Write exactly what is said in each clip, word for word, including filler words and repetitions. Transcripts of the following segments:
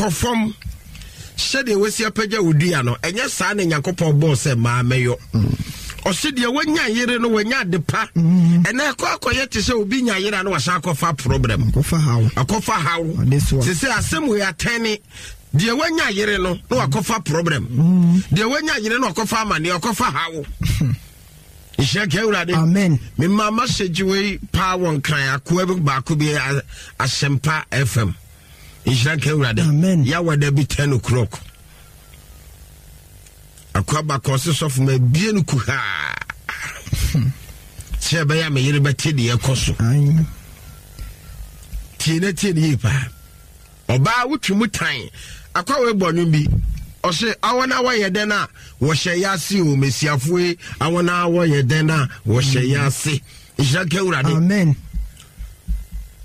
Kɔ fam sɛdeɛ wasi apagya wo dua no, ɛnyɛ saa na Nyankopɔn bɔɔ sɛ maa mɛyɔ. Ɔse deɛ wanya yere no wanya ade pa. Ɛnɛ ɛkɔ akɔyɛ te sɛ obi nya yere a na wasan akɔfa problem, akɔfa haw. Te sɛ asɛm wei atɛne deɛ wanya yere no na wakɔfa problem, deɛ wanya yere no wakɔfa amanneɛ, wakɔfa haw. Nhyira ka Awurade. Amen. Mema message wei paa wɔ Nkran akoa bi baako bi, Asɛmpa F M. Nhyira nka Awurade. Amen. Yɛawada bi ten o'clock, akoa baako ɔse, "Sɔfo, ma bie no kuhaa sɛ ɛbɛyɛ a me yere bɛte deɛ ɛkɔ so." Tie na tie ne yie paa. Ɔbaa wotwi mu tan akwa wei bɔ nwom bi, ɔse awɔ na wɔyɛ dɛn a wɔhyɛ yɛ ase o, mesiafoɔ yi, awɔ na wɔyɛ dɛn a wɔhyɛ yɛ ase. Nhyira nka Awurade. Amen.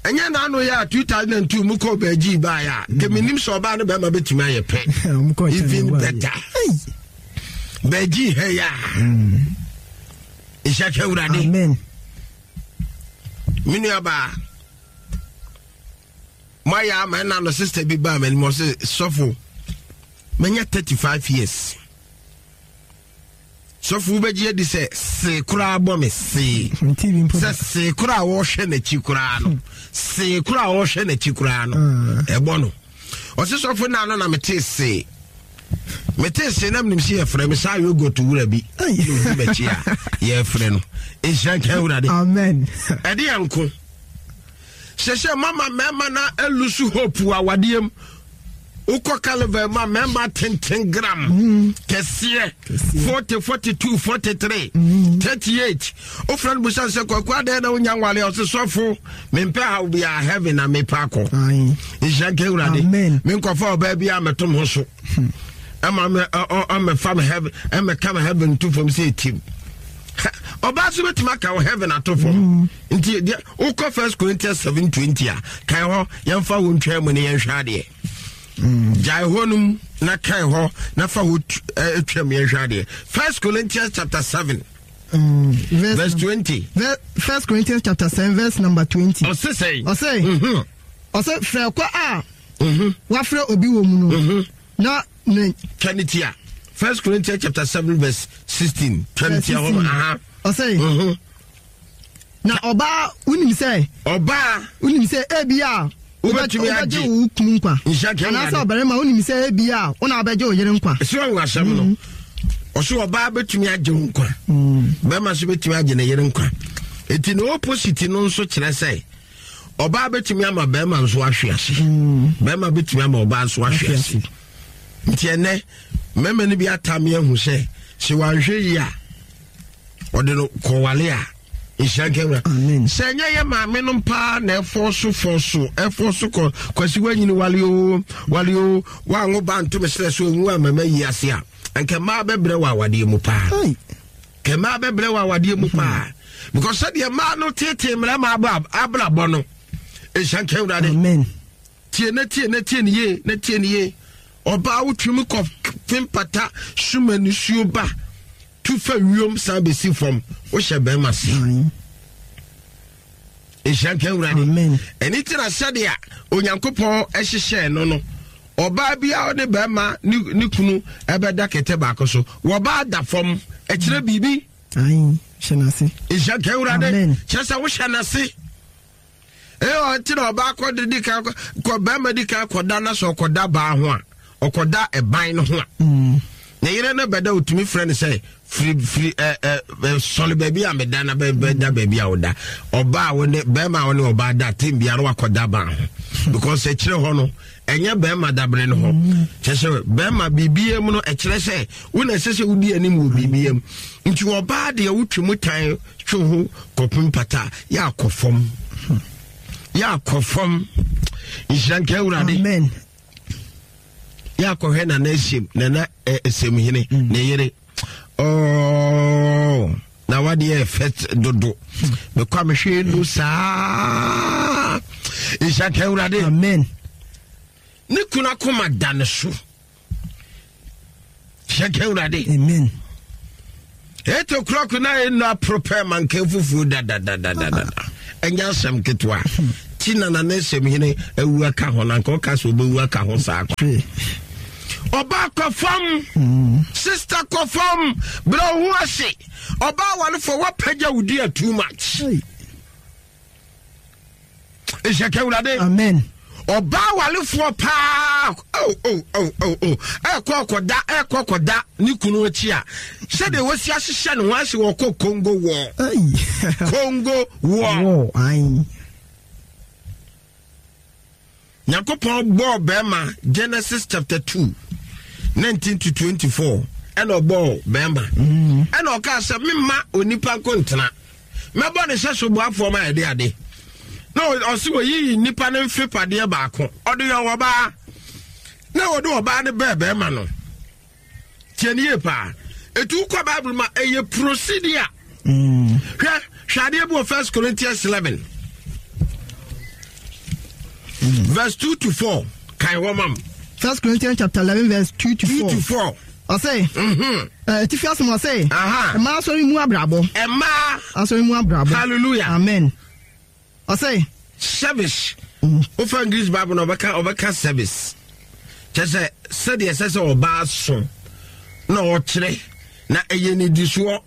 Ɛnyɛ n'ano yɛ a two thousand and two mu kɔ bɛgyi baeɛ a, nka menim sɛ ɔbaa no bɛrima bɛtumi ayɛ pɛ, even better bɛgyi ha yi a. Nhyira nka Awurade. Amen. Me nuabaa, moayɛ ama ɛna no sister bi baa m'anim, ɔsɛ, "Sɔfo, manya thirty-five years. Sɔfo, wobɛgye adi sɛ see koraa bɔ me see sɛ see koraa a wɔrehwɛ n'akyi koraa no, see koraa a wɔrehwɛ n'akyi koraa no ɛbɔ no." Ɔse, "Sɔfo, na no na metee see metee see na menim sɛ yɛfrɛ me saa yogurt wura bi na ɔdi m'akyi a yɛfrɛ no." Nhyira nka Awurade. Amen. Ɛde yɛ nko hyɛhyɛ mama mmarima na e lose hope wɔ awadeɛ mu. Wokɔ Carnival ma mmarima tenten gram kɛseɛ forty, forty-two, forty-three, thirty-eight, wofrɛ no busa sɛ, "Kwaku, adɛn na wonya nwale?" Ɔse, "Sɔfo, mempɛ haw biaa, heaven na mepɛ akɔ." Nhyira nka Awurade. Menkɔfa ɔbaa bi a mɛtom ho so ɛma ɔmɛfa me heaven, ɛmɛka me heaven to fam sɛ ɛtim. Ɔbaa so bɛtumi aka wo heaven ato fam. Nti deɛ wokɔ First Corinthians seven twenty a, kae hɔ, yɛmfa wo ntwa mu ne yɛnhwɛ adeɛ. Gyae hɔ nom na kae hɔ na fa hɔ twam, yɛnhwɛ adeɛ. First Corinthians chapter seven Mm, verse, verse twenty. First Corinthians chapter seven verse number twenty. Ɔse sɛn? Ɔse ɔse frɛ kɔ a wafrɛ obi wɔ mu no na ne Twa ne tia. First Corinthians chapter seven verse sixteen. Twa ne tia hɔ. Aha. Ɔse na ɔbaa, wonim sɛ ɔbaa wonim sɛ ebi a wobɛtumi agye wo kunu nkwa, anaasɛ ɔbarima, wonim sɛ ebi a wona wobɛgye wo yere nkwa. Ɛsɛ ɔwo asɛm no, ɔso ɔbaa bɛtumi agye wo nkwa, bɛrima nso bɛtumi agye ne yere nkwa. Enti ne opposite no nso kyerɛ sɛ ɔbaa bɛtumi ama bɛrima nso ahwe ase, bɛrima bɛtumi ama ɔbaa nso ahwe ase. Nti ɛnɛ mmarima no bi atame ahu sɛ sɛ wanhwɛ yi a ɔde no kɔwale a. Nhyira nka Wura. Sɛ ɛnyɛ yɛ maame no paa na ɛfɔ so fɔ so ɛfɔ so kɔ kwasi wanyini, wale o, wale o, wango ba ntome serɛ so onwu a mama yi ase a, nka mmaa bɛbrɛ wɔ awadeɛ mu paa, kɛ mmaa bɛbrɛ wɔ awadeɛ mu paa, because sɛdeɛ mmaa no tete mmarima abrabɔ no. Nhyira nka Awurade. Tie na tie na tie ne yie na tie ne yie. Ɔbaa, wotwim kɔ fempata suma nisuo ba tu fa wiem san bɛsi fam, wohyɛ bɛrima se. Nhyira nka Awurade. Ɛne ti na sɛdeɛ Onyankopɔn hyehyɛɛ no no ɔbaa bi a ɔne bɛrima ne kunu ɛbɛda kɛtɛ baako so, wɔbaa da fam, ɛkyerɛ biribi. Nhyira nka Awurade. Kyerɛ sɛ wohyɛ n'ase. Ɛyɛ ɔnti na ɔbaa kɔ de di kan kɔ, bɛrima di kan kɔda na sɛ ɔkɔda baa ho a, ɔkɔda ɛban no ho a, ne yere no bɛda, otumi frɛ no sɛ, "Firi, firi, ɛ ɛ sɔle baabi a meda na bɛda baabi a woda." Ɔbaa wo ne bɛrima a wo ne ɔbaa da tem biara wakɔda ban ho, because ɛkyerɛ hɔ no ɛnyɛ bɛrima dabere no hɔ. Kyerɛ sɛ bɛrima biribia mu no, ɛkyerɛ sɛ wo na ɛsɛ sɛ wodi anim wɔ biribia mu. Nti ɔbaa deɛ, wotwe mu tan twe ho kɔpem pata, yɛ akɔ fam, yɛ akɔ fam. Nhyira nka Awurade. Amen. Yɛ akɔhwɛ Nana Esiem, Nana Esemhene ne yere ɔɔ na wadeɛ ɛfɛ dodo, mekɔ a mehwɛ nu saa. Nhyira nka Awurade. Amen. Ne kunu akoma da ne so. Hyɛ nka Awurade. Amen. Eight o'clock na ɛnu apropɛ manka fufuo dadadadadada, ɛnyɛ asɛm ketewa. Akyi na Nana Nsɛmhene awu aka ho na nka ɔka sɛ ɔbɛwu aka ho saa kwa. Ɔbaa kɔ fam, mm. sister kɔ fam, brɛ wo ho ase. Ɔbaa warefo wapagya wo dua too much. Nhyɛ ka Awurade. Amen. Ɔbaa warefoɔ paa oh oh oh oh oh ɛkɔ kɔda ɛkɔ kɔda ne kunu akyi a sɛdeɛ wɔsi ahyehyɛ ne ho ase wɔkɔ Congo war. Congo war. Nyankopɔn bɔɔ bɛrima Genesis chapter two nineteen to twenty-four ɛna ɔbɔɔ bɛrima ɛna ɔkaa sɛ memma onipa nko ntena mɛbɔ ne sɛ soboafoɔ ma yɛde ade na ɔse wɔyiyi nnipa no mfe padeɛ baako ɔde yɛ ɔbaa na wɔde ɔbaa no bɛɛ bɛrima no. Tie ne yie paa. Etu kɔ Bible ma ɛyɛ procedure. Hwɛ hwɛ adeɛ bi wɔ First Corinthians eleven verse two to four. Kan hɔ mam. First Corinthians chapter eleven verse two to four. Two to four. Ɔsɛ. Etifi asem ɔsɛ. Mmaa asɔre mu abrabɔ. Mmaa. Asɔre mu abrabɔ. Hallelujah. Amen. Ɔsɛ. Service. Ofa English Bible na ɔbɛka ɔbɛka service. Kyɛ sɛ sɛdeɛ ɛsɛ sɛ ɔbaa so na ɔkyerɛ na ɛyɛ nidisoɔ.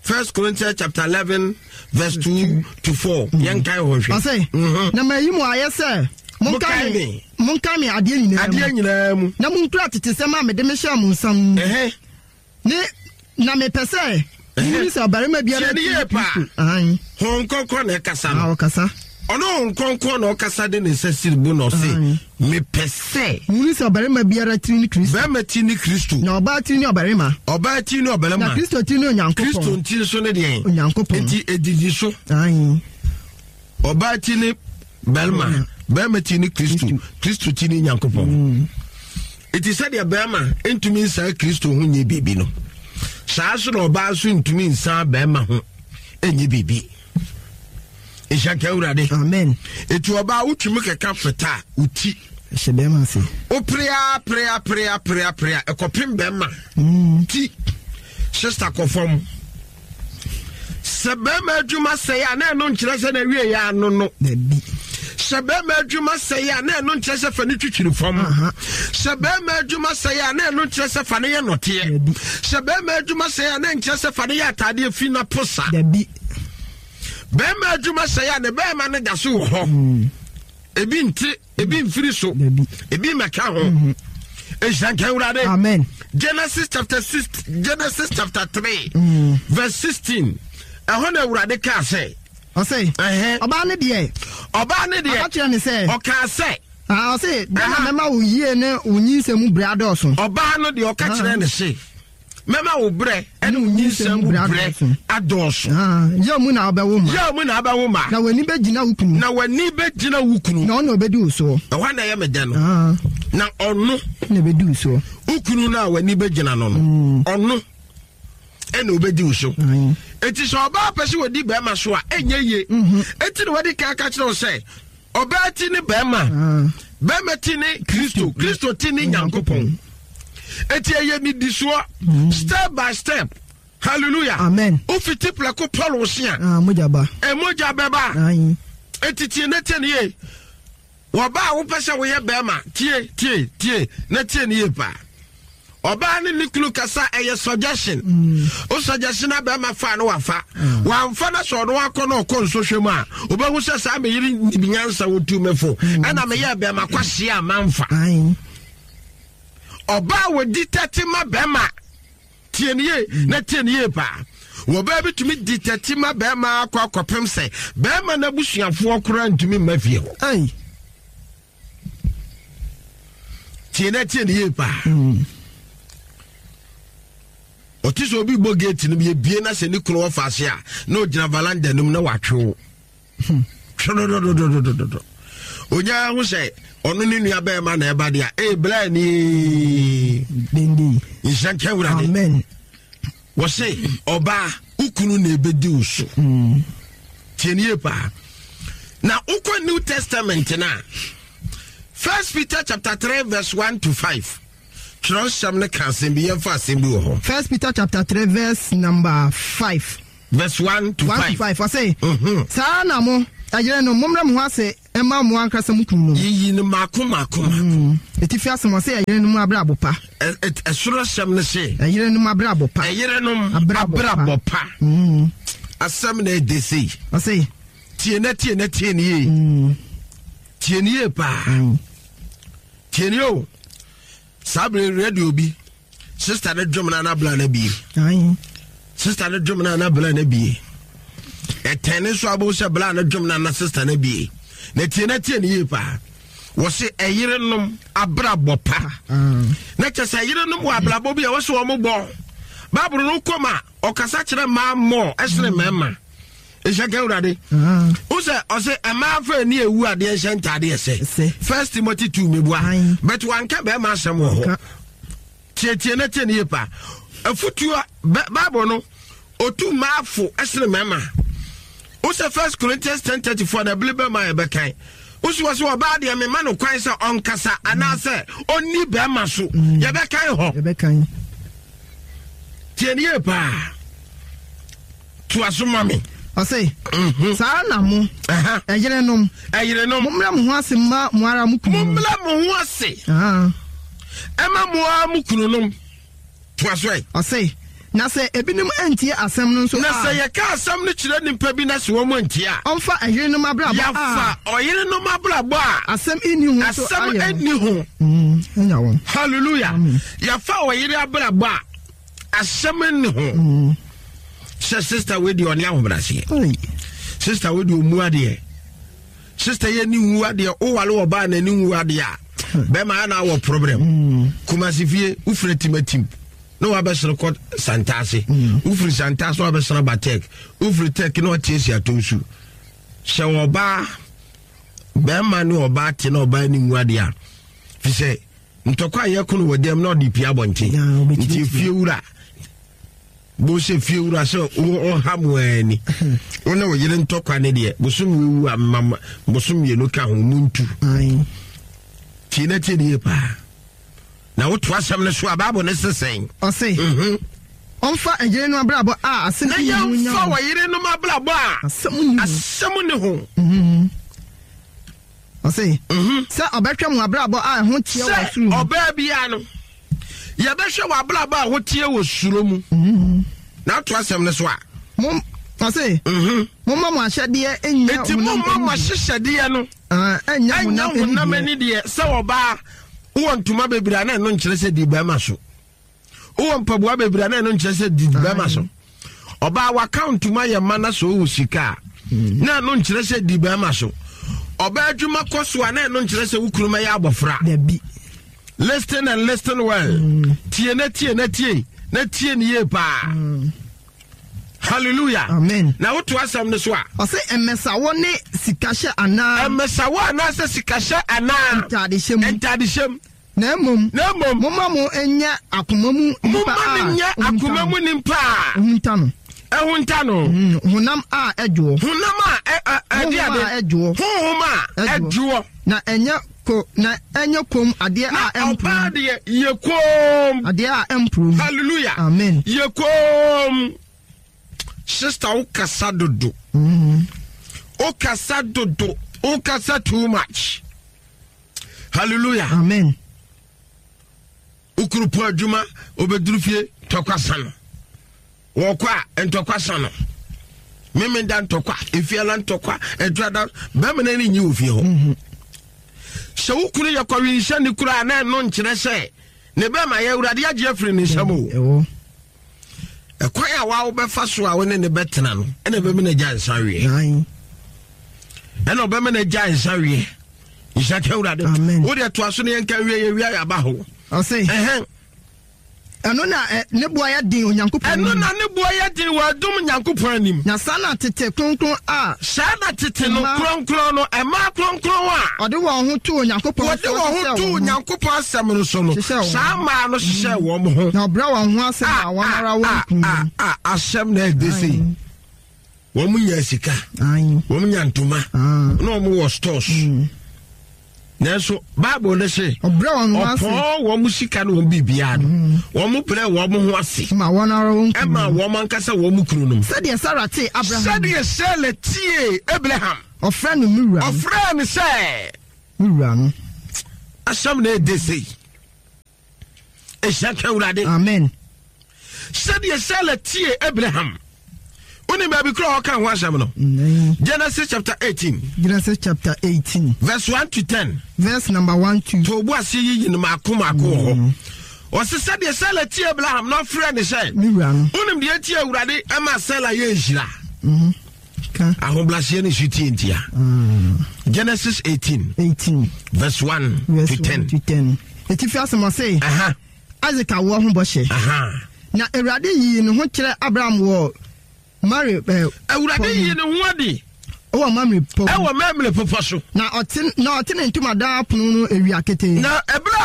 First Corinthians chapter eleven verse two to four. Yɛn kan hɔ hwɛ. Ɔsɛ. Na ma yi mu ayɛ sɛ. Monkae me. Monkae me adeɛ nyinaa mu. Adeɛ nyinaa mu. Na monkura tete sɛm a mede mehyɛɛ mo nsa mu. Ne na mepɛ sɛ. Wuli sɛ ɔbarima biara ti ne Kristo. Honhom Kronkron na ɛkasa no. Ɔkasa. Ɔno Honhom Kronkron na ɔkasa de ne nsa siri bu na ɔse mepɛ sɛ. Wuli sɛ ɔbarima biara tiri ne Kristo. Barima ti ne Kristo. Na ɔbaa tiri ne ɔbarima. Ɔbaa tiri ne ɔbarima. Na Kristo tiri ne Onyankopɔn. Kristo nti nso ne deɛn. Onyankopɔn. Nti edidi so. Ɔbaa ti ne barima. Barima ti ne Kristo. Kristo ti ne Nyankopɔn. Eti sɛdeɛ barima ntumi nsan Kristo ho nyɛ biribi no, saa so na ɔbaa nso ntumi nsan barima ho nyɛ biribi. Nhyɛ nka Awurade. Amen. Eti ɔbaa wotumi kɛka feta a woti. Hyɛ bɛrima ase. Woperea perea perea perea perea ɛkɔpem bɛrima. Ti sister kɔ fam. Sɛ bɛrima adwuma sɛe a na ɛno nkyerɛ sɛ na awie yɛ ano no. Sɛ bɛrima adwuma sɛe a na ɛno nkyerɛ sɛ fa ne twitwiri fam. Sɛ bɛrima adwuma sɛe a na ɛno nkyerɛ sɛ fa ne yɛ nɔteɛ. Sɛ bɛrima adwuma sɛe a na nkyerɛ sɛ fa ne yɛ ataadeɛ fi na posa. Bɛrima adwuma sɛe a ne bɛrima no da so wɔ hɔ. Ebi nte, ebi mfiri so, ebi mmɛka ho. Nhyira nka Awurade. Amen. Genesis chapter six, Genesis chapter three, verse sixteen. Ɛhɔ na Awurade kaa sɛ. Ɔsɛ. Ɔbaa ne deɛ. Ɔbaa ne deɛ. Ɔka kyerɛ ne sɛ. Ɔkaa sɛ. Ɔsɛ dɛn na mɛma wo yie ne wo nyinsɛn mu brɛ adɔɔso. Ɔbaa no deɛ ɔka kyerɛ ne se. Mɛma wo brɛ ɛne wo nyinsɛn mu brɛ adɔɔso. Yaw mu na wobɛwo mma. Yaw mu na wobɛwo mma. Na w'ani bɛgyina wo kunu. Na w'ani bɛgyina wo kunu. Na ɔno ɔbɛdi wo soɔ. Ɛhɔ na ɛyɛ me dɛ no. Na ɔno. Na ɛbɛdi wo soɔ. Wo kunu no a w'ani bɛgyina no no. Ɔno ɛna ɔbɛdi wo so. Eti sɛ ɔbaa pɛ sɛ wɔdi bɛrima so a ɛnyɛ yie. Eti na wɔde kan ka kyerɛ wo sɛ ɔbaa ti ne bɛrima. Bɛrima ti ne Kristo. Kristo ti ne Nyankopɔn. Eti ɛyɛ nidisoɔ step by step. Hallelujah. Amen. Ufiti plɛko Paul osia. Ah, mogya ba. Mogya bɛba. Eti tie ne tie ne yie. Wɔba a wopɛ sɛ woyɛ bɛrima tie tie tie na tie ne yie paa. Ɔbaa ne ne kunu kasa ɛyɛ suggestion. O suggestion na bɛrima fa no wafa. Wamfa na sɛ ɔno akɔ na ɔkɔ nsɔhwɛ mu a wobɛhu sɛ saa meyere nyansa wotu mefo. Ɛna meyɛ bɛrima kwahyia a mamfa. Ɔbaa wɔdi tɛte ma bɛrima tie ne yie na tie ne yie paa. Wɔbaa bi tumi di tɛte ma bɛrima akɔ akɔpem sɛ bɛrima n'abusuafoɔ koraa ntumi mma fie hɔ. Tie na tie ne yie paa. Ɔte sɛ obi bɔ gate no bi ebie na sɛ ne kunu wɔ faase a na ogyina valanda no mu na watwe wo. Twɛdɔdɔdɔdɔdɔdɔ. Onyaa ho sɛ ɔno ne nua bɛrima na ɛba deɛ a ee bla ni. Nhyɛ nka Awurade. Amen. Wɔse ɔbaa ukunu na ebedi wo so. Tie ne yie paa. Na wokɔ New Testament na First Peter chapter three verse one to five. Twerɛsɛm ne ka asɛm bi yɛmfa asɛm bi wɔ hɔ. First Peter chapter three verse number five. Verse one to one five. to five. Ɔse. Saa na mo ɛyere no mommrɛ mo ho ase Ɛma mo ankasa mo kunu no. Yiyi no mako mako mako. Etifi asɛm ɔsɛ ɛyerenom abrabɔ pa. Ɛsoro asɛm no se. Ɛyerenom abrabɔ pa. Ɛyerenom abrabɔ pa. Asɛm na ɛde sei. Ɔsɛ. Tie na tie na tie ne yie. Tie ne yie paa. Tie ne o. Saa bere radio bi. Sister ne dwom na anabla na bie. Sister ne dwom na anabla na bie. Ɛtɛn ne nso abo sɛ bla ne dwom na na sister na bie. Na tie na tie ne yie paa. Wɔse ɛyerenom abrabɔ pa. Na kyɛ sɛ ɛyerenom wɔ abrabɔ bi a wɔse wɔn bɔ. Baaburo no kɔm a ɔkasa kyerɛ mmaa mmɔ ɛsene mmarima. Nhyɛ ka Awurade. Wo sɛ ɔse mmaa fa ani ewu adeɛ nhyɛ ntaadeɛ sɛ. First Timothy two mebua. But wanka bɛrima asɛm wɔ hɔ. Tie tie na tie ne yie paa. Afutuo Bible no otu mmaafo ɛsene mmarima. Wo sɛ First Corinthians ten thirty four na ebile bɛrima yɛ bɛkan. Wo sɛ wɔsɛ ɔbaa deɛ mema no kwan sɛ ɔnkasa anaasɛ ɔnni bɛrima so. Yɛbɛkan hɔ. Yɛbɛkan. Tie ne yie paa. To aso ma me. Ɔse saa na mo ɛyerenom ɛyerenom mommrɛ mo ho ase ma mo ara mo kunu. Mommrɛ mo ho ase. Ɛma mo ara mo kunu nom. To aso ɛ. Ɔse na sɛ ebinom antie asɛm no nso a. Na sɛ yɛka asɛm no kyerɛ nipa bi na sɛ wɔn antie a. Ɔmfa ɛyerenom abrabɔ a. Yɛfa ɔyerenom abrabɔ a. Asɛm nni ho so ayɛ. Asɛm nni ho. Ɛnya wɔn. Hallelujah. Yɛfa ɔyere abrabɔ a asɛm nni ho. Sɛ sister wei deɛ ɔne ahobrɛaseɛ. Sister wei deɛ ɔmu adeɛ. Sister yɛ ni wu adeɛ wowale ɔbaa na ni wu adeɛ a. Bɛrima ana wɔ problem. Kumasi fie wofiri timatim. Na wabɛsere kɔ Santase. Wofiri Santase na wabɛsere aba Tech. Wofiri Tech na watiesie ato nsu. Sɛ ɔbaa bɛrima ne ɔbaa te na ɔbaa ni wu adeɛ a. Fi sɛ ntɔkwa a yɛko no wɔ dɛm na ɔde pia abɔnten. Nti fie wura. Bo sɛ fie wura sɛ ɔha mu ani. Wo ne wo yere ntɔkwa ne deɛ bosom wewu a mama bosom mmienu ka ho mu ntu. Tie na tie ne yie paa. Na woto asɛm no so a Bible ne sesɛn. Ɔse ɔmfa ɛyerenom abrabɔ a asɛm na yɛmfa ɔyerenom abrabɔ a asɛm ne ho. Ɔse sɛ ɔbɛhwɛ mo abrabɔ a ɛho teɛ wɔ soro mu. Sɛ ɔbaa biara no yɛbɛhwɛ wɔ abrabɔ a ɛho teɛ wɔ soro mu. Na ato asɛm no so a. Mo ɔse momma mo ahyɛdeɛ nyɛ Enti momma mo ahyehyɛdeɛ no ɛnyɛ honam ani deɛ. Sɛ ɔbaa wowɔ ntoma bebree a na ɛno nkyerɛ sɛ di bɛrima so. Wowɔ mpaboa bebree a na ɛno nkyerɛ sɛ di bɛrima so. Ɔbaa waka ntoma yɛ ma na sɛ ɔwɔ sika a na ɛno nkyerɛ sɛ di bɛrima so. Ɔbaa adwuma kɔ so a na ɛno nkyerɛ sɛ wo kunu mɛyɛ abɔfra. Listen and listen well. Tie na tie na tie na tie ne yie paa. Hallelujah. Amen. Na woto asɛm no so a. Ɔse ɛmɛsawɔ ne sikahyɛ anaa. Ɛmɛsawɔ anaasɛ sikahyɛ anaa. Ntadehyɛ mu. Ntadehyɛ mu. Na mmom. Na mmom. Momma mo nyɛ akoma mu nipa a. Momma no nyɛ akoma mu nipa a. Ɛhunta no. Ɛhunta no. Honam a ɛdwoɔ. Honam a ɛde ade. Honhom a ɛdwoɔ. Honhom a ɛdwoɔ. Na ɛnyɛ ko na ɛnyɛ kom adeɛ a ɛmporo. Na ɔbaa deɛ yɛ kom. Adeɛ a ɛmporo. Hallelujah. Amen. Yɛ kom. Sister, wo kasa dodo. Wo kasa dodo. Wo kasa too much. Hallelujah. Amen. Ukurupo adwuma obeduru fie tɔkwa sa no. Wɔkɔ a ntɔkwa sa no. Meme da ntɔkwa, efie la ntɔkwa, ɛdwa da bɛrima no ani nyi wɔ fie hɔ. Sɛ wo kunu yɛ kɔwenhyɛ ne kura na ɛno nkyerɛ sɛ ne bɛrima yɛ Awurade agye afiri ne nsam o. Ɛkwan a wa wobɛfa so a wo ne ne bɛtena no ɛna ɛbɛma no agya nsa weɛ. Ɛna ɔbɛma no agya nsa weɛ. Nhyɛ ka Awurade. Wo deɛ toa so ne yɛnka wie yɛ wia yɛaba hɔ. Ɔse. Ɛhɛn. Ɛno na ne boa yɛ den Onyankopɔn anim. Ɛno na ne boa yɛ den wɔ adom Nyankopɔn anim. Na saa na tete kronkron a. Saa na tete no kronkron no ɛmaa kronkron a. Ɔde wɔn ho too Onyankopɔn Wɔde wɔn ho too Onyankopɔn asɛm no so no. Saa mmaa no hyehyɛ wɔn ho. Na ɔbrɛ wɔn ho ase ma wɔn ara wɔn kunu. A asɛm na ɛde sei. Wɔn nya sika. Wɔn nya ntoma. Na wɔn wɔ stores. Nanso Bible no se Ɔbrɛ wɔn ho ase. Ɔpɔn wɔn sika ne wɔn biribiara no. Mm. Wɔn brɛ wɔn ho ase. Ma wɔn ara wɔn kunu. Ɛma wɔn ankasa wɔn kunu nom. Sɛdeɛ Sara tee Abraham. Sɛdeɛ Sara tie Abraham. Ɔfrɛ no me wura no. Ɔfrɛ no sɛ. Me wura no. Asɛm na ɛde sei. Ɛhyɛ ka Awurade. Amen. Sɛdeɛ Sara tie Abraham. Wonim baabi kora ɔka ho asɛm no? Genesis chapter eighteen. Genesis chapter eighteen. Verse one to ten. Verse number one to. To obu ase yiyi no maako maako wɔ hɔ. Ɔse sɛdeɛ Sara tie Abraham na ɔfrɛ ne sɛ. Me wura no. Wonim deɛ tie Awurade ɛma Sara yɛ nhyira. Ahobrɛaseɛ ne su tie ntia. Genesis eighteen. eighteen. Verse one Verse to ten. one to ten. Etifi asɛm ɔse. Aha. Isaac awoɔ ho bɔhyɛ. Aha. Na Awurade yii ne ho kyerɛ Abraham wɔ Mare. Eh, Awurade yii ne ho adi. Ɛwɔ Mamre pɔ. Ɛwɔ Mamre pɔpɔ so. Na ɔte na ɔte ne ntomadan apono no awia ketee. Na ɛberɛ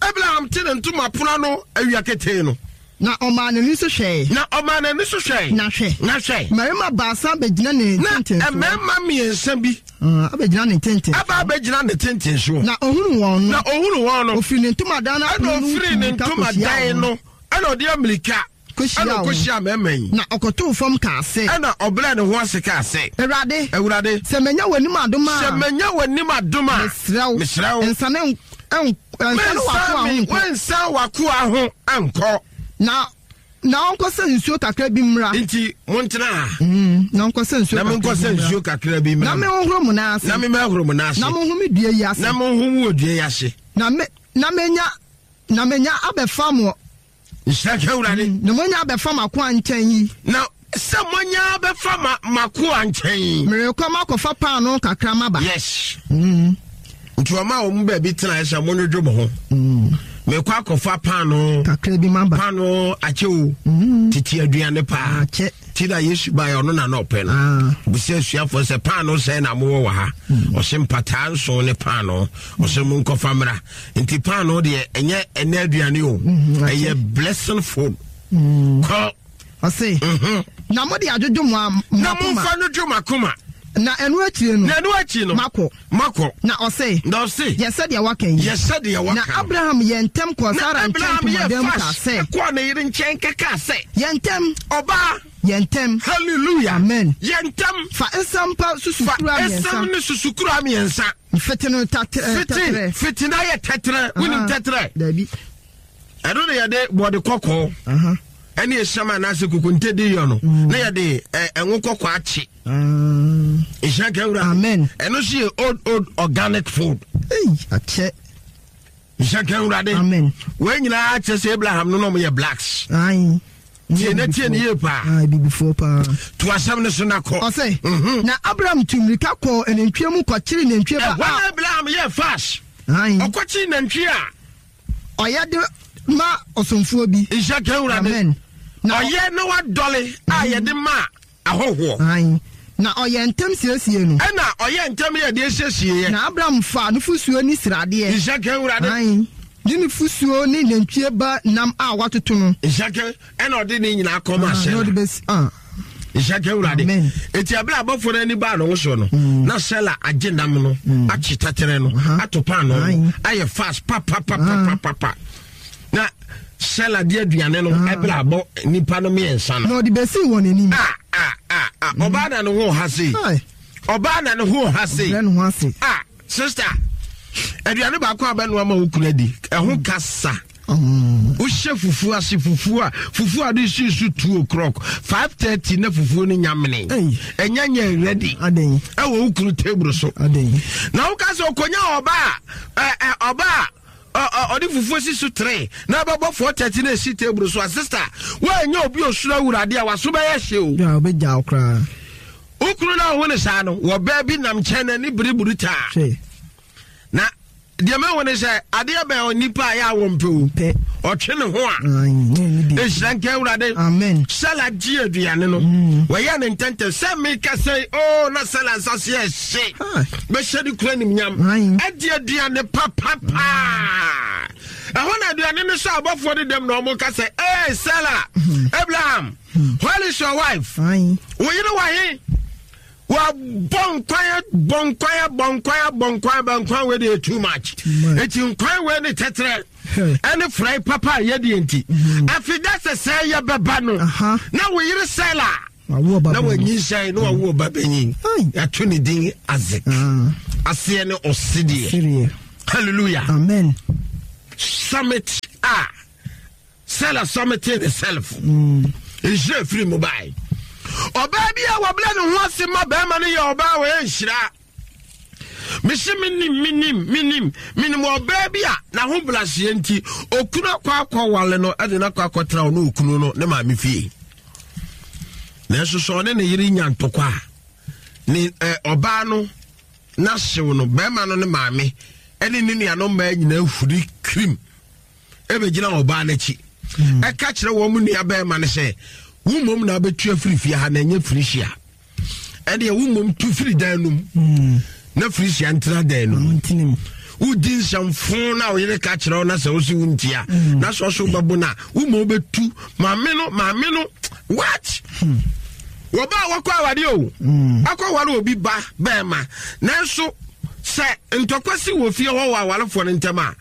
a Abraham te ne ntoma pono ano awia ketee no. Na ɔmaa n'ani so hwɛe. Na ɔmaa n'ani so hwɛe. Na hwɛ. Na hwɛ. Mmarima baasa bɛgyina ne ntenten so. Na mmarima mmiɛnsa bi. Uh, abɛgyina ne ntenten. Aba abɛgyina ne tenten so. Na ohunu wɔn no. Na ohunu wɔn no. Ofiri ne ntomadan no apono Ɛna no ofiri ne ntomadan no. Ɛna ɔde amirika. Kɔhyia Ɛna wɔn. ɔkɔhyia mmarima yi. Na ɔkɔtoo fam kaa sɛ. Ɛna ɔbrɛɛ ne ho ase kaa sɛ. Awurade. Awurade. Sɛ manya w'anim adom a. Sɛ manya w'anim adom a. Mesrɛ wo. Mesrɛ wo. Nsane nsane w'akoa ho nkɔ. Wensan w'akoa ho nkɔ. Na na ɔnkɔsɛ nsuo kakra bi mmra. Nti montena ha. Mm, na ɔnkɔsɛ nsuo Na kakra bi menkɔsɛ mmra. nsuo kakra bi mmra. Na menhohoro mo nan ase. Na memmɛhoro mo nan ase. Na monhome dua yi ase. Na monhome wɔ dua yi ase. Na me na menya na menya abɛfa mo. Nhyira nka Awurade. Mm, na monya abɛfa m'akoa nkyɛn yi. Na sɛ monya abɛfa ma m'akoa nkyɛn yi. Merekɔ makɔfa paanoo kakra maba. Yes. Mm. Nti ɔma wɔn baabi tena sɛ monwodwo mo ho. Mm. Mekɔ akɔfa paanoo. Kakra bi maba. Paanoo akyɛ o. Mm. Tete aduane paa. Akyɛ. Ti na Yesu baeɛ ɔno na na ɔpɛ no. Ah. Bisa asuafoɔ sɛ paanoo sɛn na mowɔ wɔ ha. Mm. Ɔse mpataa nson ne paanoo. Ɔse monkɔfa mmra. Nti paanoo deɛ ɛnyɛ ɛnɛ aduane o. Mm, akyɛ. Ɛyɛ blessing food. Mm. Kɔ. Ɔse. Mhm. Na mode adwodwo mo a- mo Na akoma. momfa no dwo m'akoma. Na ɛno akyire no. Na ɛno akyi no. Makɔ. Makɔ. Na ɔse. Na ɔse. Yɛ sɛdeɛ waka yi. Yɛ sɛdeɛ waka. Na Abraham yɛ ntɛm kɔɔ Na Sara nkyɛn Abraham yɛ ntomadan mu kaa fast sɛ. kɔɔ ne yere nkyɛn kɛkaa sɛ. Yɛ ntɛm. Ɔbaa. Yɛ ntɛm. Hallelujah. Amen. Yɛ ntɛm. Fa nsɛm pa Fa susukura esam mmiɛnsa. ne susukura mmiɛnsa. Fete no tɛtrɛ. Fete fete na yɛ tɛtrɛ. Wonim tɛtrɛ. Dabi. Ɛno na yɛde bɔde kɔkɔɔ. Aha. Ɛne esiam anaasɛ kokonte di yɔ no. Mm. Na yɛde ɛ ɛnwo kɔkɔɔ akye. Ah. Nhyira nka Awurade. Amen. Ɛno nso yɛ old old organic food. Ei, akyɛ. Nhyira nka Awurade. Amen. Wɔn nyinaa kyerɛ sɛ Abraham no na wɔn yɛ blacks. Ayi. Tie na tie ne yie paa. Ayi, bibifoɔ paa. To asɛm no so na kɔ. Ɔsɛ. Mhm. Na Abraham tu mmirika kɔɔ anantwie mu kɔkyere nantwie ba Ɛhɔ na a. Abraham yɛ fast. Ayi. Ɔkɔkyere nantwie a. Ɔyɛ de ma ɔsomfoɔ bi. Nhyira nka Awurade. Amen. Na ɔ- Ɔyɛ na wadɔle a yɛde ma ahɔhoɔ. Ayi. Na ɔyɛ ntɛm siesie no. Ɛna ɔyɛ ntɛm yɛ deɛ siesie yɛ. Na Abraham fa nufosuo ne sradeɛ. Nhyira nka Awurade. Ayi. Ne nufosuo ne nantwie ba nam a watoto no. Nhyira nka ɛna ɔde ne nyinaa kɔma Ah, na Sela. ɔde bɛsi ah. Nhyira nka Awurade. Amen. Eti abere abɔfoɔ no ani baa ne ho so no, na Sela agye nam no, akye tɛtɛrɛ no, Aha. ato paanoo no, Aye. ayɛ fast papapapapapa. Na Sela de aduane no ɛbere abɔ nipa no mmiɛnsa no. Na ɔde bɛsii wɔn anim. Ah, ah, ah, ah. Ɔbaa na ne ho ha sei. Aye. Ɔbaa na ne ho ha sei. Ɔbrɛ ne ho ase. Ah, sister. Aduane baako a bɛnoa ma wo kunu adi, ɛho kasa. Mm. Wohyɛ fufuo ase, fufuo a fufuo a de si so two o'clock, five thirty na fufuo no nyamene. Ei. Ɛnyɛ nyɛ ready. Aden. Ɛwɔ wo kunu table so. Aden. Na woka sɛ okonya ɔbaa, ɛ ɛ ɔbaa ɔ ɔ ɔde fufuo si so three na ɛbɛbɔ four thirty na esi table so a, sister, woanyɛ obi osoro Awurade a waso bɛyɛ hye o. Ya obɛgya wo koraa. Wo kunu na ɔho ne saa no, wɔ baa bi nam nkyɛn na ne biribiri taa. Hwɛ. Na deɛ mahu ne sɛ adeɛ bɛn onipa a yɛ a wɔmpɛ o. Pɛ. Ɔtwe ne ho a. Ayi, ne ne bi. Nhyira nka Awurade. Amen. Sela gye aduane no. Mm. Wɔyɛ ne ntɛntɛm sɛ meka sɛ o na Sela nsa se ɛhye. Hi. Bɛhyɛ ne kura nimnyam. Aye. Ɛde aduane papapaa. Ɛhɔ na aduane no sɛ abɔfoɔ de dɛm na ɔmo ka sɛ, Hey Sela, Mm. Abraham, where is your wife? Ayi. Wo yere wɔ he? Wabɔ nkwan, bɔ nkwan, bɔ nkwan, bɔ nkwan, bɔ nkwan wei deɛ too much. Eti nkwan wei ne tɛtrɛ ɛne frɛ papa a yɛdeɛ nti. Afei da sɛ sɛ yɛbɛba no na wo yere sɛla na wanyinsɛn na wawo ɔba bɛnyin. Yɛato ne din Isaac. Aseɛ ne ɔsedeɛ. Hallelujah. Amen. Summit a Sarah summited herself. Nhyira firi mu bae. Ɔbaa bi a wɔbrɛ ne ho ase ma bɛrima no yɛ ɔbaa wɔyɛ nhyira. Mese menim menim menim menim ɔbaa bi a n'ahobrɛaseɛ nti okunu akɔ akɔwale no ɛde no akɔ akɔtena ɔne okunu no ne maame fie. Nanso sɛ ɔne ne yere nya ntɔkwa a ne ɔbaa no n'ahyew no bɛrima no ne maame ɛne ne nuanom mmaa nyinaa huri kirim ɛbɛgyina ɔbaa n'akyi ɛka kyerɛ wɔn mu nua bɛrima no sɛ wo mmom na wobɛtu afiri fie ha na ɛnyɛ firihyia ɛdeɛ wo mmom tu firi dan no mu na firihyia ntena dan no mu wodi nsɛmfo na wo yere ka kyerɛ wo na sɛ wo se wo ntia na sɛ ɔso wobɛbo no a wo mmom wobɛtu maame no maame no what wɔba a wɔkɔ awadeɛ o akɔ aware obi ba bɛrima nanso sɛ ntɔkwa si wɔ fie hɔ wɔ awarefoɔ no ntɛm a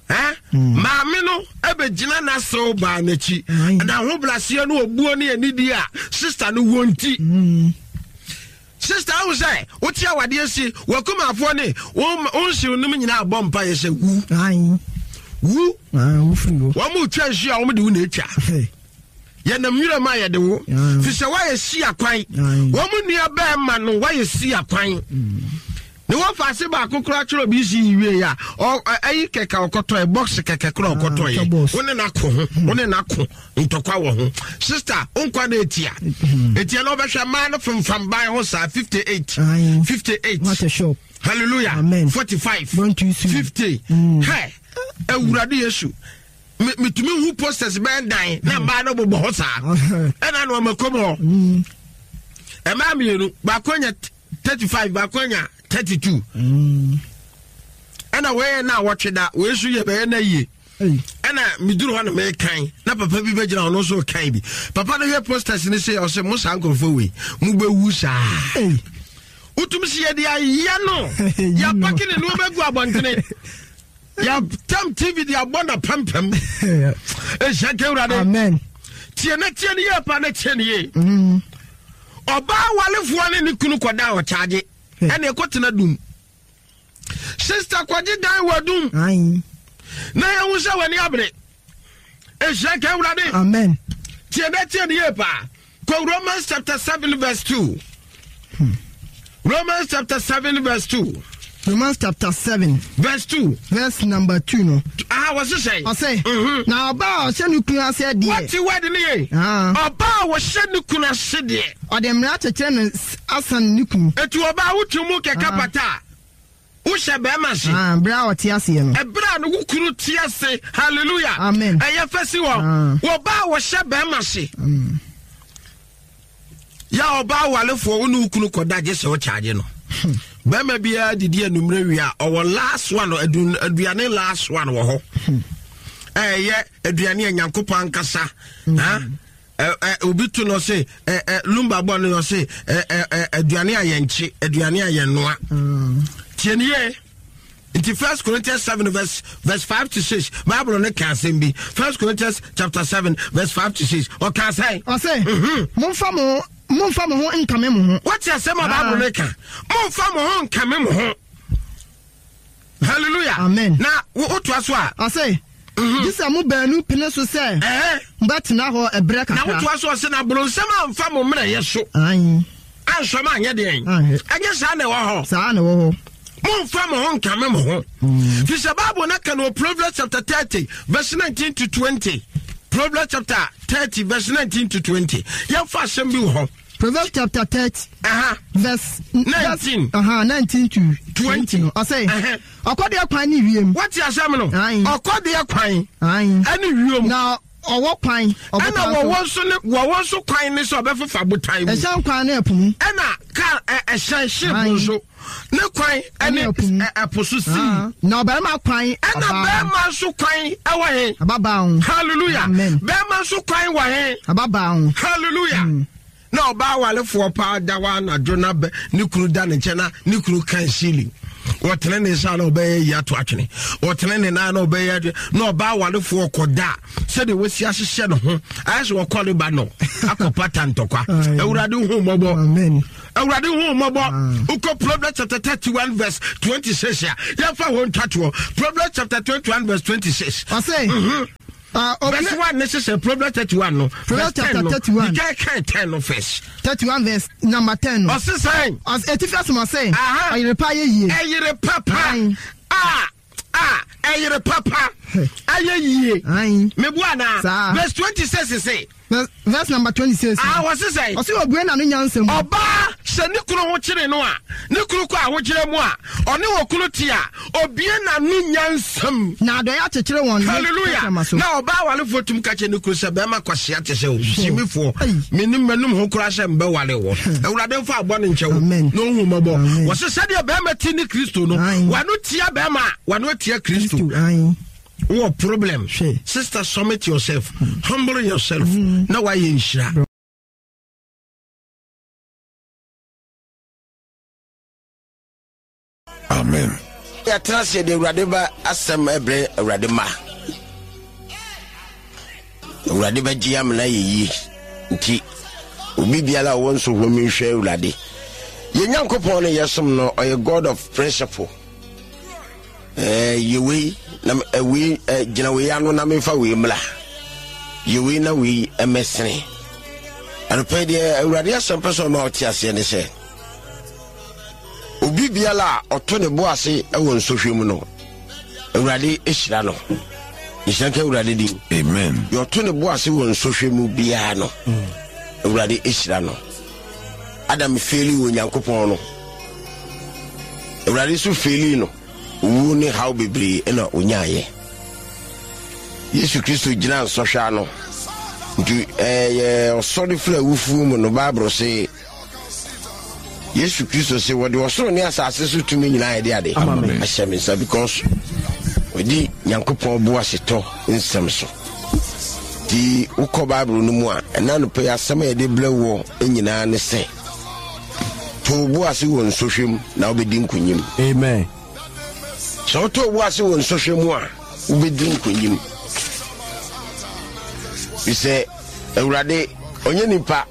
eh? Maame no ɛbɛgyina n'asew baa n'akyi na ahobrɛaseɛ no obuo ne anidie a sister no wɔ nti sister ahu sɛ wote awadeɛ si wakumafoɔ ne wo nhyew nom nyinaa bɔ mpa yɛ sɛ wu wu wɔn mu twa nsuo a wɔn de wo na etwa yɛnam nwura mu a yɛde wo fi sɛ woayɛ si akwan wɔn mu nua bɛrima no woayɛ si akwan ne wɔfa ase baako koraa kyerɛ obi si wie a ɛyi kɛkɛ ɔkɔtɔ yɛ box kɛkɛ koraa ɔkɔtɔ yɛ wo ne n'ako ho wo ne n'ako ntɔkwa wɔ ho sister nkwa na etia etia na ɔbɛhwɛ mmaa no femfam ban ho saa fifty eight fifty eight hallelujah forty five fifty hɛ Awurade Yesu metumi hu posters bɛn dan na mmaa no bobɔ hɔ saa ɛna na ɔma kɔm hɔ mmaa mmienu baako anya thirty five baako anya thirty two ɛna wɔyɛ na wɔtwe da wɔyɛ so yɛ bɛyɛ na yie ɛna meduru hɔ na mekan na papa bi bɛgyina ɔno nso kan bi papa no hwɛ posters no sɛ ɔsɛ mo saa nkurɔfoɔ wei mobɛwu saa wotumi sɛ yɛde ayɛ no yɛapake ne nneɛma gu abɔntene yɛtam T V de abɔ na pampam ɛhyɛ ka Awurade. Amen. Tie na tie ne yie pa na tie ne yie. Ɔbaa walefoɔ ne ne kunu kɔda a ɔkyaagye ɛne ɛkɔtena dum sister kɔgye dan wɔ dum na yɛhu sɛ w'ani abere. Ɛhyɛ ka Awurade. Amen. Tie na tie ne yie paa. Kɔ Romans chapter seven verse two. Romans chapter seven verse two. Romans chapter seven. Verse two. Verse number two no. Ah, wɔse sɛn? Ɔsɛ. Mhm. Na ɔbaa a ɔhyɛ ne kunu ase deɛ. Wɔte word ne ye. Ah. Ɔbaa a wɔhyɛ ne kunu ase deɛ. Ɔde mmara kyekyere no s- asan ne kunu. Etu ɔbaa wotwe mu kɛkɛ Ah. pata a wohyɛ bɛrima ase. Ah, bere a ɔte aseɛ no. Ɛberɛ a no wo kunu te ase. Hallelujah. Amen. Ɛyɛ fɛ si hɔ. Ah. Wɔbaa a wɔhyɛ bɛrima ase. Yɛ ɔbaa walefoɔ wo ne wo kunu kɔda gye sɛ wokyagye no. Bɛrima biara didi anummerɛ wie a ɔwɔ last one adu- aduane last one wɔ hɔ. Ɛyɛ aduane a Nyankopɔn ankasa. Ha? Ɛ- ɛ, obi to no ɔse ɛ, ɛ, lumba bɔ no ɔse ɛ, ɛ, ɛ, aduane a yɛnkye aduane a yɛnoa. Tie ne yie. Nti First Corinthians seven verse verse five to six, Bible no ka asɛm bi. First Corinthians chapter seven verse five to six, ɔka sɛn? Ɔsɛ. Mhm. Momfa mo momfa mo ho nkame mo ho. Wɔte asɛm a Bible no ka, momfa mo ho nkame mo ho. Hallelujah. Amen. Na wo- wotoa so a Ɔsɛ. Gye sɛ mo baanu pene so sɛ ɛhɛ mobɛtena hɔ ɛberɛ na kakra. wotoa so ɔse na boronsɛm amfa mo mmerɛyɛ so Ayi. ansɔm anyɛ deɛn? Anhwɛ. Ɛnyɛ saa na ɛwɔ hɔ. Saa na ɛwɔ hɔ. Momfa mo ho nkame mo ho fi sɛ Bible no ka no wɔ Proverbs chapter thirty verse nineteen to twenty. Proverbs chapter thirty verse nineteen to twenty. Yɛmfa asɛm bi wɔ hɔ. Proverbs chapter thirty. Aha. Verse nineteen. Verse, uh-huh, nineteen to twenty. twenty no. Ɔsɛ. Ɛhɛ. Ɔkɔdeɛ kwan ne wiem. Wote asɛm no? Aye. Ɔkɔdeɛ kwan Ayi. ɛne wiem. Na ɔwɔ kwan. Ɛna Ɔbotan so. wɔwɔ nso ne wɔwɔ nso kwan ne sɛ ɔbɛfefa botan mu. Ɛhyɛn kwan ne ɛpo mu. Ɛna car ɛ ɛhyɛn ship Aye. nso ne kwan ɛne Ɛne ɛpo mu. ɛ- ɛpo so sea. Ah, na ɔbarima kwan. Ɛna ɔbaa. bɛrima nso kwan ɛwɔ he? Ababaa ho. Hallelujah. Amen. Bɛrima nso kwan wɔ he? Ababaa ho. Hallelujah. Na ɔbaa walefoɔ paa da hɔ anadwo na bɛ ne kunu da ne nkyɛn na ne kunu kan ceiling. Wɔtene ne nsa na ɔbɛyɛ yi ato atwene. Wɔtene ne nan na ɔbɛyɛ adwene na ɔbaa walefoɔ kɔda sɛdeɛ wɔsi ahyehyɛ ne ho ayɛ sɛ wɔkɔ ne ba no akɔ pata ntɔkwa. Awurade hu mmɔbɔ. Awurade hu mmɔbɔ. Wokɔ Proverbs chapter thirty one verse twenty six a yɛmfa hɔ ntwatoɔ. Proverbs chapter twenty one verse twenty six. Ɔsɛ. Uh, verse one ne sisɛ Proverbs thirty one no. Proverbs chapter thirty one. You can count ten no first. Thirty one verse number ten no. Ɔsi sɛn. Ɔsi eti fi asoma sɛn. Ɛyere pa yɛ yie. Ɛyere papa. A a ɛyere papa. Ayɛ yie. Mebu ana. Verse twenty six sise. Verse number twenty six. Ah, wɔsi sɛn. Ɔsi obue na ne nyansa mu. Ɔbaa sɛ ne kunu ho kyere no a ne kunu kɔ ahokyere mu a ɔne wɔ kunu ti a obue na ne nyansa mu. Na adɔyɛ akyekyere wɔn. Hallelujah. Na ɔbaa walefoɔ tum ka kyerɛ ne kunu sɛ bɛrima kwasia te sɛ osimifoɔ menim m'anum ho koraa sɛ mbɛwale wɔ. Awurade mfa abɔ ne nkyɛw na ohu mmɔbɔ. Wɔsi sɛdeɛ bɛrima ti ne Kristo no wano tia bɛrima a wano tia Kristo. What problem? Sister, submit yourself, humble yourself. Mm. Now why you nhyira? Amen. Yɛtena ase de Awurade ba asɛm ɛbrɛ Awurade ma. Awurade bɛgye amena yɛ yie. Nti obi biara a ɔwɔ nso hɔ mi nhwɛ Awurade. Yɛn Nyankopɔn no yɛsom no ɔyɛ God of principle. Eh, yɛ wei na wei gyina wei ano na memfa wei mmla. Yɛ wei na wei mmɛsene. Anɔpa deɛ Awurade asɛm pɛ sɛ ɔma ɔte aseɛ ne sɛ obi biara a ɔto ne bo ase wɔ nsɔhwɛ mu no Awurade hyira no. Nhyira nka Awurade din. Amen. Deɛ ɔto ne bo ase wɔ nsɔhwɛ mu biara no Awurade hyira no. Adam feeli wɔ Nyankopɔn no, Awurade nso feeli no. Owuo ne haw bebree na onyaayɛ. Yesu Kristo gyina nsɔhwɛ ano. Nti ɛyɛ ɔsɔre firi awufuo mu no, Bible se Yesu Kristo se wɔde ɔsoro ne asase so tumi nyinaa yɛde ade ahyɛ me nsa because wɔdi Nyankopɔn bo asetɔ nsɛm so. Nti wokɔ Bible no mu a ɛna no pɛ asɛm a yɛde brɛ wɔ nyinaa ne sɛ to bo ase wɔ nsɔhwɛ mu na wobɛdi nkonim. Amen. Sɛ wotɔ bo ase wɔ nsɔhwɛ mu a wobɛdi nkonim. Bisɛ Awurade ɔnyɛ nipa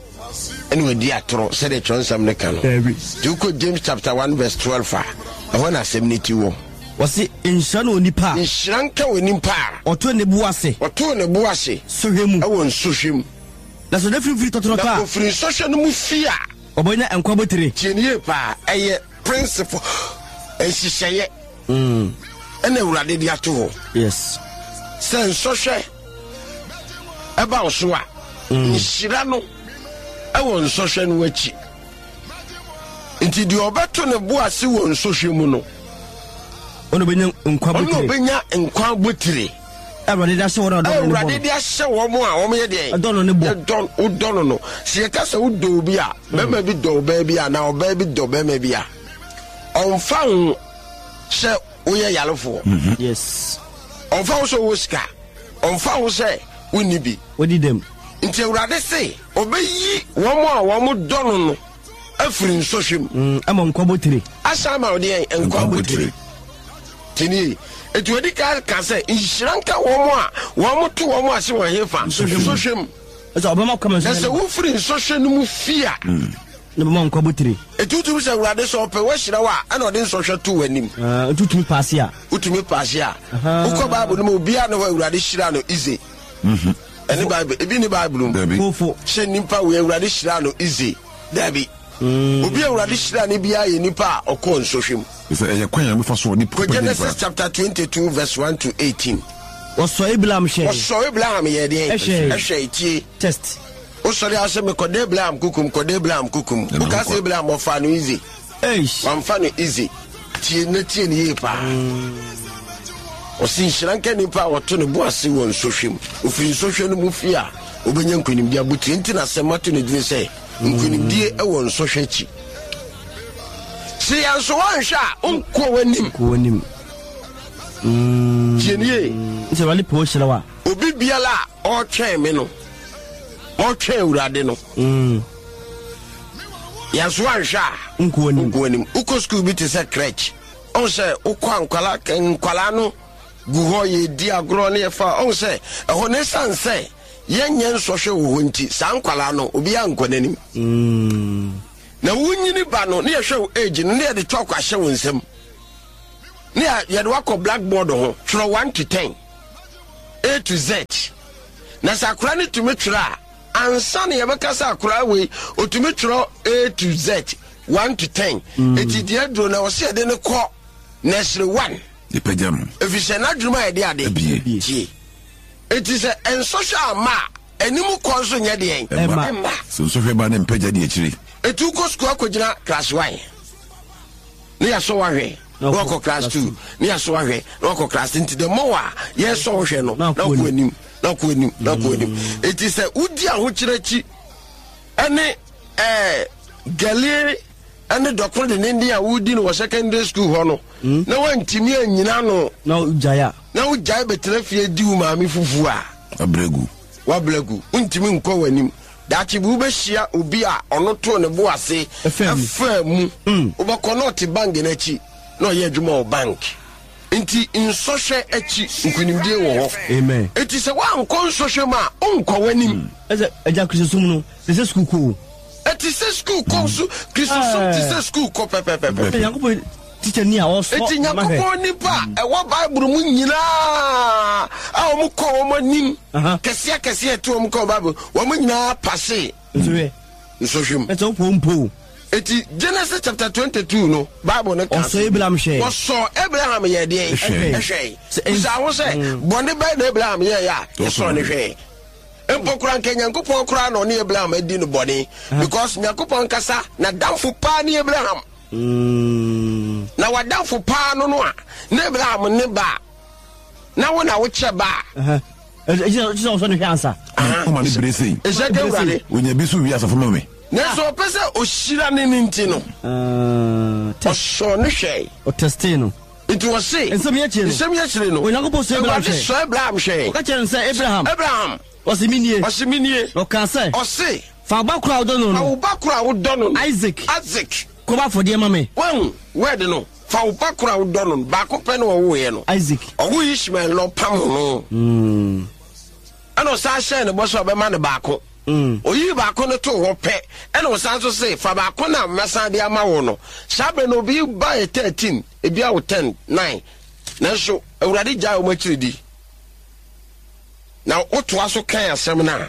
ɛna wadi atoro sɛdeɛ Kyerɛwnsɛm no ka no. Nti wokɔ James chapter one verse twelve a ɛhɔ na asɛm no ti wɔ. Wɔse nhyira ne onipa a. Nhyira nka onipa a. Ɔto ne bo ase. Ɔto ne bo ase. Sɔhwɛ mu. Ɛwɔ nsɔhwɛ mu. Na sɛ ɔda firifiri tɔtorɔtɔ a. Na ofiri nsɔhwɛ no mu fi a. Ɔbɛnya nkwa botire. Tie ne yie paa, ɛyɛ principle nhyehyɛeɛ ɛna Awurade de ato hɔ. Yes. Sɛ nsɔhwɛ ɛba wo so a, nhyira no ɛwɔ nsɔhwɛ no akyi. Nti deɛ ɔbɛto ne bo ase wɔ nsɔhwɛ mu no, ɔno ɔbɛnya nkwa ɔno botire. ɔbɛnya nkwa botire. Awurade de ahyɛ wɔn a ɔdɔ no ne bɔ. Awurade de ahyɛ wɔn a wɔn yɛ deɛ. Ɛdɔ no ne bɔ. Ɛdɔ wodɔ no no. Sɛ yɛka sɛ wodɔ obi a, bɛrima bi dɔ ɔbaa bi a, na ɔbaa bi dɔ bɛrima bi a, ɔmfa ho sɛ woyɛ yarefoɔ. Yes. Ɔmfa ho sɛ wowɔ sika. Ɔmfa ho sɛ wonni bi. Wodi dɛm. Nti Awurade se ɔbɛyi wɔn a wɔn dɔ no no afiri nsɔhwɛ mu. Ama nkwa botire. Asan ama ɔde yɛn nkwa botire. Tinie. Eti odi ka ka sɛ nhyira nka wɔn a wɔn to wɔn ase wɔ hefa nsɔhwɛ mu. Ɛsɛ ɔbɛma kɔmɛ Na sɛ wofiri nsɔhwɛ no mu fi a. Na bɛma nkwa botire. Eti wotumi sɛ Awurade sɛ ɔpɛ wahyira wo a ɛna ɔde nsɔhwɛ to w'anim. Nti wotumi paase a. Wotumi paase a. Wokɔ Bible no mu obiara ne hɔ Awurade hyira no easy. Ɛne Bible ebi ne Bible mu. Fofo. Hyɛ nipa wei Awurade hyira no easy. Dabi. Obi Awurade hyira ne biara yɛ nipa a ɔkɔɔ nsɔhwɛ mu. Sɛ ɛyɛ kwan a mefa so ɔde Kɔ Genesis chapter twenty two verse one to eighteen. Wɔsɔ Abraham hwɛ. Wɔsɔ Abraham yɛ deɛ. Ɛhwɛ. Ɛhwɛ etie. Test. Wosɔre asɛ mekɔda Abraham kukum kɔda Abraham kukum. Woka sɛ Abraham ɔfa no easy. Eish. Wamfa no easy. Tie na tie ne yie paa. Ɔsi nhyira nka nipa a wɔto ne bo ase wɔ nsɔhwɛ mu. Ofiri nsɔhwɛ no mu fi a obɛnya nkonimdie abotire nti na asɛm ato ne dini sɛ nkonimdie ɛwɔ nsɔhwɛ akyi. Sɛ yɛn nso wɔnhwɛ a nkɔ w'anim. Kɔ w'anim. Tie ne yie. Nti Awurade pɛ ɔhyira wa. Obi biara a ɔretwɛn me no, ɔretwɛn Awurade no. Yɛnso anhwɛ a Nkɔ anim. Nkɔ anim. Wokɔ school bi te sɛ crèche, ɔhu sɛ wokɔ a, nkwalaa nkwalaa no gu hɔ, yɛdi agorɔ ne yɛfa. Ɔhu sɛ ɛhɔ no, ɛsiane sɛ yɛnyɛ nsɔhwɛ wɔ hɔ nti, saa nkwalaa no, obiara nkɔ n'anim. Mm. Na wonyini ba no, ne yɛhwɛ wo age no, ne yɛde chalk ahyɛ wo nsam, ne yɛ- yɛde wakɔ blackboard ho, twerɛ one to ten, A to Z. Na sɛ akora no tumi twerɛ a, ansa na yɛbɛka sɛ akora wei ɔtumi twerɛ A to Z, one to ten, eti deɛ aduro na ɔsɛ yɛde no kɔ nursery one. Yɛpagya no. Ɛfiri sɛ n'adwene mu a yɛde ade Abie. tie. Eti sɛ nsɔhwɛ ama a, anim kɔ nso nyɛ deɛn? Ɛmma. Ɛmma. Sɛ nsɔhwɛ ba ne mpagya di akyire. Etu kɔ sukuu akɔgyina class one ne yasɔ wahwɛ, na Na wakɔ wakɔ class class two ne yasɔ wahwɛ, na wakɔ class three. Nti the more a yɛsɔ wohwɛ no, Na na wakɔ wakɔ anim, na wakɔ anim, na wakɔ anim. Eti sɛ wodi ahokyerɛ akyi ɛne ɛɛ gɛlie ɛne dɔkoro de ne a wodi no wɔ secondary school hɔ no, na wantumi anyina no, Na wogyae a, na wogyae bɛtena fie di wo maame fufuo a, abrɛgu. Wabrɛ gu, wontumi nkɔ w'anim. Daakye bi wobɛhyia obi a ɔno too ne bo ase ɛfaa mu. ɛfaa mu. Mm. Wobɛkɔ na ɔte bank no akyi na ɔyɛ adwuma wɔ bank. Nti nsɔhwɛ akyi, nkonimdie wɔ hɔ. Amen. Enti sɛ woankɔ nsɔhwɛ mu a, wonkɔ w'anim. Ɛsɛ agya, Kristosom no te sɛ sukuu kɔ o. Ɛte sɛ sukuu kɔ so. Kristosom te sɛ sukuu kɔ pɛpɛpɛpɛ. Nyankopɔn tikya ni a ɔsɔ Enti mma hwɛ. Nyankopɔn nipa a ɛwɔ Bible mu nyinaa a wɔn kɔ wɔn anim Aha. kɛseɛ kɛseɛ ɛte wɔn kɔ Bible, wɔn nyinaa pass nsɔhwɛ. Nsɔhwɛ mu. Ɛsɛ wopɔ mpo o. Eti Genesis chapter twenty two no, Bible no ka Ɔsɔ Abraham hwɛ. Wɔsɔ Abraham yɛ deɛ? Ɛhwɛ. Ɛhwɛ. Sɛ bisa ho sɛ, bɔne bɛyɛ na Abraham yɛ yɛ a yɛsɔ ne hwɛ? Mpo koraa nka Nyankopɔn koraa na ɔne Abraham adi no bɔne, because Nyankopɔn kasa na damfo paa ne Abraham. Mm. Na wadamfo paa no no a na Abraham ne ba a, na wo na wokyɛ ba a. Aha. Ɛsɛ ɛsɛ sɛ ɔsɔ ne hwɛ ansa. Ɔma ne bere sei. Ɛhyɛ ka Awurade. Onya bi so wie asafo ma me. Nanso ɔpɛ sɛ ɔhyira ne ne nti no, Ah, test. ɔsɔ ne hwɛ. Ɔtestee no. Nti wɔse Nsɛm yi akyire no, nsɛm yi akyire no, Onyankopɔn sɔ Abraham Awurade hwɛ. sɔ Abraham hwɛ. Ɔka kyerɛ no sɛ, Abraham. Abraham. Ɔse, menie. Ɔse, menie. Na ɔkaa sɛ, ɔse, fa wo ba koro a wodɔ no fa no wo ba koro a wodɔ no no, Isaac, Isaac, kɔbɔ afɔdeɛ ma me. Wahu word no? Fa wo ba koro a wodɔ no no, baako pɛ na ɔwoeɛ no. Isaac. Ɔwo Ishmael na ɔpam no, Mm. ɛna ɔsan hyɛɛ ne bɔ sɛ ɔbɛma no baako. Mm. Oyii baako no too hɔ pɛ, ɛna ɔsan so se, fa baako na mɛsan de ama wo no. Saa berɛ no, obi ba yɛ thirteen, ebi awo ten, nine, nanso Awurade gyae wɔn akyiri di. Na wotoa so kan asɛm no a,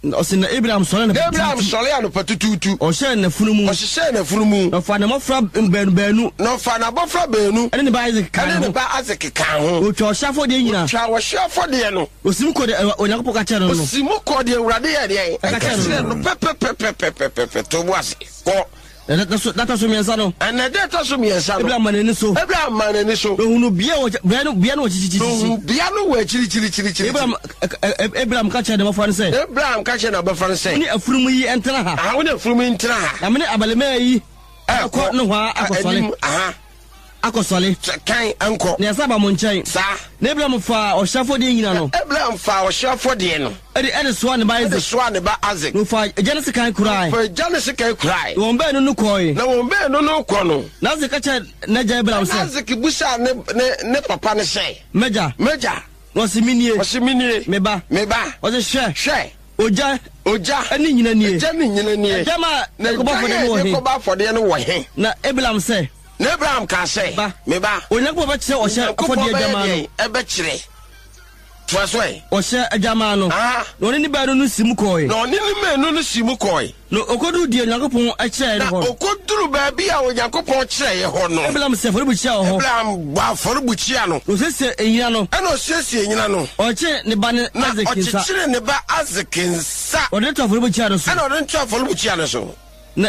Ɔse na Abraham sɔre na anɔpa Abraham tutuutu. Sɔre anɔpa tutuutu. Ɔhyɛɛ n'afunumu. Ɔhyehyɛɛ n'afunumu. Na ɔfaa ne mmɔfra baanu baanu. Na ɔfaa n'abɔfra baanu. Ɛne ne ba Isaac kaa ɛne ne ne ho. Ba Isaac kaa ho. Otwa ɔhyɛ afɔdeɛ nyinaa. Otwa ɔhyeɛ afɔdeɛ no. Osim kɔ deɛ Onyankopɔn ka kyerɛ no no. Osi mu kɔ deɛ Awurade yɛ deɛ Ɛka ɛka kyerɛ kyerɛ no. No pɛpɛpɛpɛpɛpɛ. To bo ase kɔ. Na da so da so mmiɛnsa no, Ɛnɛ da ɛtɔ so mmiɛnsa no, Abraham ma n'ani so. Abraham ma n'ani so. Na ohunu bea wɔ bea no bea no wɔ kyikyikyikyi. Ohun bea no wɔ akyirikyirikyirikyiri. Abraham ɛ- ɛ- ɛ- Abraham ka kyerɛ ne mmɔfra no sɛ, Abraham ka kyerɛ n'abɔfra no sɛ, wo ne afunumu yi ntena ha. Aha, wo ne afunumu yi ntena ha. Na me ne abarimaa yi ɛkɔ nohoa akɔsɔre. Anim aha. Akɔsɔre. Sɛ kan nkɔ. Na yɛsa aba mo nkyɛn. Saa. Na Abraham faa ɔhyɛ afɔdeɛ nyina no. Abraham faa ɔhyɛ afɔdeɛ no. Ɛde ɛde soa ne ba ɛde Isaac. Soa ne ba Isaac. Na ɔfaa agya no sekan kurae. Fa agya ne sekan kurae. Na wɔn baanu no kɔe. Na wɔn baanu no kɔ no, Na Isaac ka kyerɛ n'agya Abraham na sɛ, Isaac busaa ne ne ne papa no sɛ, m'agya. M'agya. Na ɔse, menie. Ɔse, menie. Me ba. Me ba. Ɔse, hwɛ, hwɛ, ogya ogya ɛne nyina nie. Agya ne nyina nie. Agya ma na ɛkɔbɔ agya afɔdeɛ yɛ no wɔ de he? kɔbɔ afɔdeɛ no wɔ he? Na Abraham sɛ, Na Abraham kaa sɛ, ba, me ba, Onyankopɔn bɛkyerɛ ɔhyɛ Onyankopɔn afɔdeɛ bɛyɛ adwamaa no. deɛn? Ɛbɛkyerɛ. Toa so ɛ. Ɔhyɛ adwamaa no. Aha. Na ɔne ne baanu no si mu kɔe. Na ɔne ne mmienu no si mu kɔe. Na ɔkɔduru deɛ Onyankopɔn kyerɛɛ no Na hɔ no, ɔkɔduru baabi a Onyankopɔn kyerɛeɛ hɔ no, Abraham sɛ afɔrebukyia wɔ hɔ. Abraham bɔ afɔrebukyia no. Na ɔsiesie nyina no. Ɛna ɔsiesie nyina no. Ɔkyee ne ba ne Na Isaac nsa. ɔkyekyere ne ba Isaac nsa. Ɔde no to afɔrebukyia no so. Ɛna ɔde no to afɔrebukyia no so.